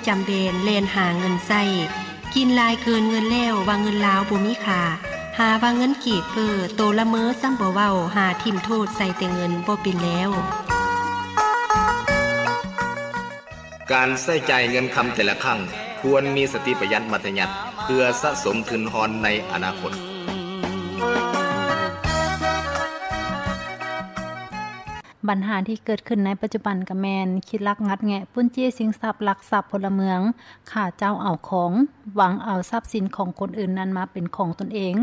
ຈຳແບນແລ່ນຫາເງິນໃຊ້ ກິນຫຼາຍເກີນເງິນແລ້ວວ່າເງິນລາວບໍ່ມີຄ່າ ຫາວ່າເງິນກີບເຟີ້ ໂຕລະເມີຊ້ຳບໍ່ເວົ້າ ຫາຖິ້ມໂທດໃສ່ແຕ່ເງິນບໍ່ເປັນແລ້ວ. ການໃຊ້ຈ່າຍເງິນຄຳແຕ່ລະຄັ້ງ ຄວນມີສະຕິປະຢັດມັດທະຍັດ ເພື່ອສະສົມທຶນຮອນໃນອະນາຄົດ. ບັນຫາທີ່ເກີດຂຶ້ນໃນປັດຈຸບັນກໍແມ່ນ ຄິດລັກງັດແງະ ປຸ້ນຈີ້ຊິງຊັບ ລັກຊັບພົນລະເມືອງ, ຂ້າເຈົ້າເອົາຂອງ, ຫວັງເອົາຊັບສິນຂອງຄົນອື່ນນັ້ນມາເປັນຂອງຕົນເອງ.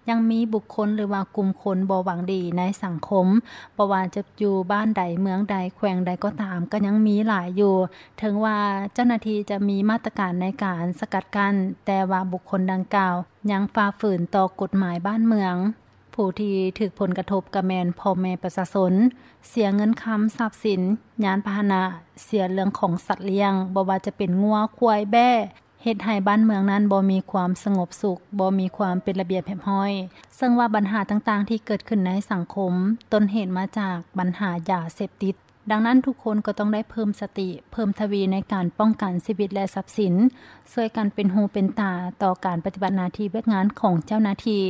ຍັງມີບຸກຄົນ ຫຼືວ່າກຸ່ມຄົນບໍ່ຫວັງດີໃນສັງຄົມ, ບໍ່ວ່າຈະຢູ່ບ້ານໃດ, ເມືອງໃດ, ແຂວງໃດກໍຕາມ, ກໍຍັງມີຫຼາຍຢູ່. ເຖິງວ່າເຈົ້າໜ້າທີ່ຈະມີມາດຕະການໃນການສະກັດກັ້ນ, ແຕ່ວ່າບຸກຄົນດັ່ງກ່າວຍັງຝ່າຝືນຕໍ່ກົດໝາຍບ້ານເມືອງ. ຜູ້ທີ່ຖືກຜົນກະທົບກໍແມ່ນພໍ່ແມ່ປະຊາຊົນ, ເສຍເງິນຄຳ, ຊັບສິນ, ຍານພາຫະນະ, ເສຍເລື່ອງຂອງສັດລ້ຽງ, ບໍ່ວ່າຈະເປັນງົວ, ຄວາຍ, ແບ້, ເຮັດໃຫ້ບ້ານເມືອງນັ້ນບໍ່ມີຄວາມສະຫງົບສຸກ, ບໍ່ມີຄວາມເປັນລະບຽບຮຽບຮ້ອຍ. ເຊິ່ງວ່າບັນຫາຕ່າງໆທີ່ເກີດຂຶ້ນໃນສັງຄົມ ຕົ້ນເຫດມາຈາກບັນຫາຢາເສບຕິດ. ດັ່ງນັ້ນທຸກຄົນກໍຕ້ອງໄດ້ເພີ່ມສະຕິ, ເພີ່ມທະວີໃນການປ້ອງກັນຊີວິດ ແລະ ຊັບສິນ, ຊ່ວຍກັນເປັນຫູເປັນຕາຕໍ່ການປະຕິບັດໜ້າທີ່ວຽກງານຂອງເຈົ້າໜ້າທີ່.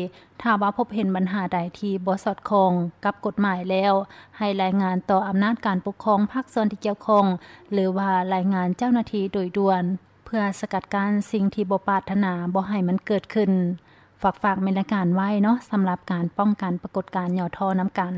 ຖ້າວ່າພົບເຫັນບັນຫາໃດທີ່ບໍ່ສອດຄ່ອງກັບກົດໝາຍແລ້ວ, ໃຫ້ລາຍງານຕໍ່ອຳນາດການປົກຄອງພາກສ່ວນທີ່ກ່ຽວຂ້ອງ ຫຼືວ່າລາຍງານເຈົ້າໜ້າທີ່ໂດຍດ່ວນ ເພື່ອສະກັດກັ້ນສິ່ງທີ່ບໍ່ປາດຖະໜາບໍ່ໃຫ້ມັນເກີດຂຶ້ນ. ຝາກ ຝາກແມ່ນລາຍການໄວ້ເນາະ ສຳລັບການປ້ອງກັນປາກົດການຫຍໍ້ທໍ້ນຳກັນ.